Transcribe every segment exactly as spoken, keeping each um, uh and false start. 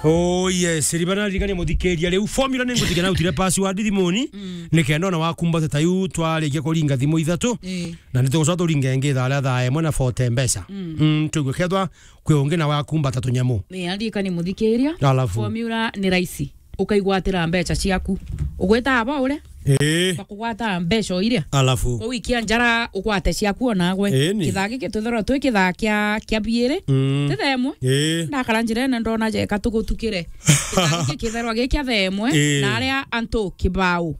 Oh yes, ribana ririkania muthikiria riu. Formula ni ngutiga na utire password thimuni. Mm. Ni kenda ona wakumbata ta yu twarikia kuringa thimu ithatu. Eh. Na ni tugucoka turinge ingi thaa ria thaa imwe na forty mbeca. Mm. Mm, tuigue kethwa kwi ungi na wakumbata tunyamu. Ni aririkania muthikiria. Alafu. Formula ni raisi. Ukaigwatira mbeca ciaku. Ugwita aba ure. Ii. Bakugwata mbeca o iria. Alafu. Kwa wiki ya njara ugwate ciaku o nagwe. Ii, ni. Kithaa giki twithirwa twi kithaa kia, kia biiri. Mm. Ti thaa imwe. Ii. Ndakara njirene ndona jeka tugutukire. Kithaa giki kithirwa gi kia thaa imwe. Ii. Na aria antu kibao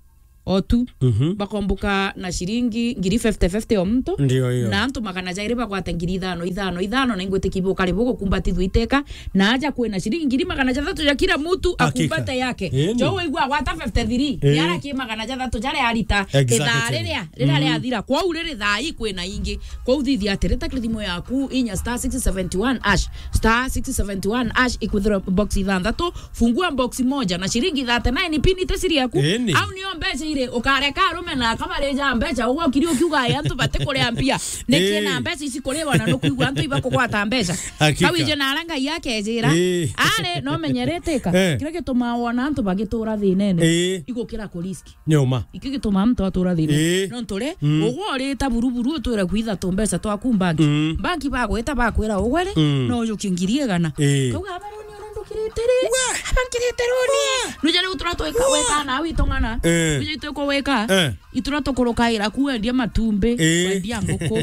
o tu. Mhm. Bakombuka na ciringi ngiri fifty fifty o muntu. Ndio hiyo. Na antu magana jairi bagwate ngiri ithano, ithano, ithano, na ingwitikia bukari bugukumbatithua iteka. Na aja kwina ciringi ngiri magana jathatu ja kila mutu. Hakika. Akumbate yake. Ii, ni. Jo waigua agwata fifty three, ii, yara ki magana jathatu jaria arita. Exactly. Ithaa riria, riria, mm, riathira. Kwou riri thaa ii kwina ingi. Kwou thithia atiri, ta thimu yaku inya star six seventy one hash, star six seventy one hash, ikwithirwa box ithanthatu, fungua box moja na ciringi thirty-nine pin ite siri yaku. Ii, ni. Au nio mbeca iri, ukareka arume na akamarija mbeca, ugokiri ukiuga, "Ai, antu batikuria mbia." Niki, ii, na mbeca ici kuriwa na nukwigua antu ibakugwata mbeca. Hakika. Kawije na ara Ngai akejira. Ii. Ari, no menyerete ka. Eh. Kiria gitumaa wona antu bagitura thinene. Ii. Igukira kurisk. Ni uma. Iki gituma muntu atura thina. Ii. Nontu ri, mm, ugwe urita buruburu utwire kwitha tu mbeca twaku mbanki. Mm. Mbanki bagwita bakwira ugwe ri, mm, no ujukie ngiri igana. Ii. Kauga, "Amaruni ura ndukirite ri? We! Aba nkirite runi." We! Nuja riu tura twika, we, weka na witung'ana. Eh. Nuja itwiko wika. Eh. Itura tukurukaira ku wendia matumbi, ii, wendia nguku.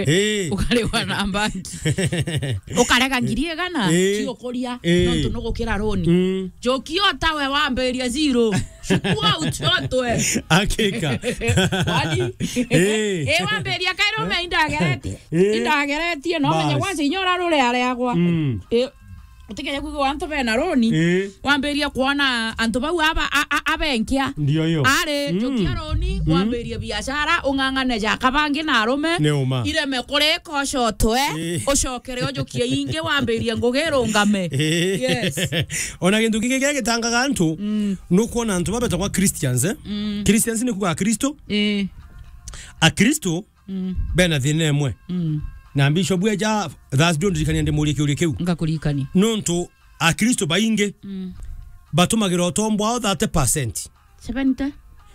Ii. Ukariwa na mbanki. Ukarega ngiri igana, ii, cio kuria, ii, nontu nugukira runi. Mm. Njoki o tawe wambiria zero. Chukua uchotwe. Hakika. Kwani? Eh. Eh, wambiria kairo me indageretie. Eh. Indageretie, no menye. Bas. Kwanza inya urarureareagwa. Mm. Eh, utikeje kwigua antu bena roni. Eh. Wambiria kwona antu bau aba, a, a, abenkia. Ndio hiyo. Ari, mm, njokia roni, mm, wambirie biashara, ung'ang'ane jaka bangi na arume. Ni uma. Ireme kurika ucotwe, eh, ucokere ujukie ingi, wambirie ngugi irungame. Eh. Yes. Ona gintu kingi kiria gitangaga antu, mm, nukwona antu babetagwa Christians, eh? Mm. Christians ni kuga Akristo. Eh. Akristo, mm, bena thina imwe. Mm. Na Bishop eja Thursday ndirikania ndimurie kiuria kiu. Ngakuririkania. Nontu Akristo baingi, mm, batumagira utombo bwao thirty percent. Seventy?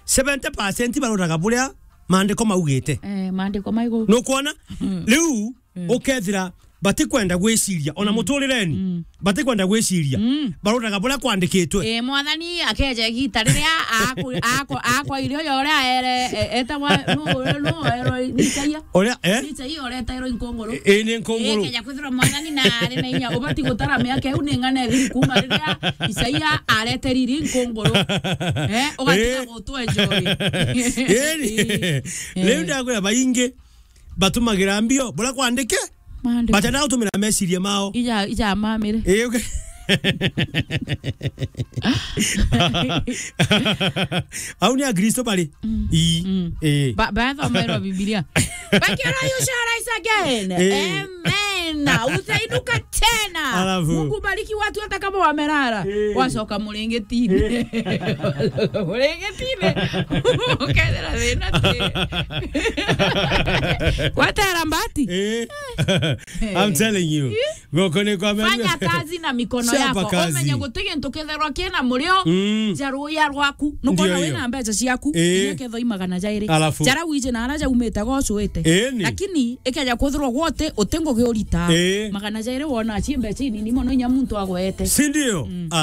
Seventy percent baroraga buria maandiko maugite. Eh, maandiko maigu. Nukwona? Mm. Riu, mm, ukethira batikwenda gwiciria, ona, mm, muturireni, mm, batikwenda gwiciria, mm, baroraga buria kwandikitwe. Eh, Mwathani akeja igita riria aku-, ako-, akwa irio ya uria aere, e-, etagwa, nu, nu, ero, ni Isaia? Uria, eh? Ni Isaia uria etairwo inkunguru. Ii, ni nkunguru. Ii, keja kwithirwa Mwathani na ari na inya, ubati gutara miaka iu ni ng'ana ithiri kuma riria Isaia areterire inkunguru. Eh, ugatiga, ii, gutwe njori. Ii. Ii. Riu, ii, ndakwira baingi batumagira mbio buria kwandike. Maandiko. Batenda gutumira meciria mao. Ija, ija mamire. Ii, okay. Au ni Akristo bari? Mm. Ii. Mm. Ii. Ba-, bathomerwa Biblia. But you know you shall rise again. Ii. Amen. Utainuka tena. Alafu. Mungu bariki watu hata kama wamelala. Ii. Wacoka muringi tine. Ii. Muringi tine. Ukethira thina ti. Gwetera mbati. Ii. I'm telling you. Ii. Goko ni kwa menya. Fanya kazi na mikono yako. Chapa kazi. Umenye guti gintu kitherwa kina murio, mm, ja ruya rwaku. Nukwona, ndio hiyo, wina mbeca ciaku, ii, iria ketho i magana jairi. Alafu. Jara wije na ara jaumite gocuite. Ii, ni. Lakini ikeja kwithirwa gwote uti ngugi urita. Ii. Magana jairi wona ci mbeca inini mono inya muntu agwete. Si ndio? Mm. Ala-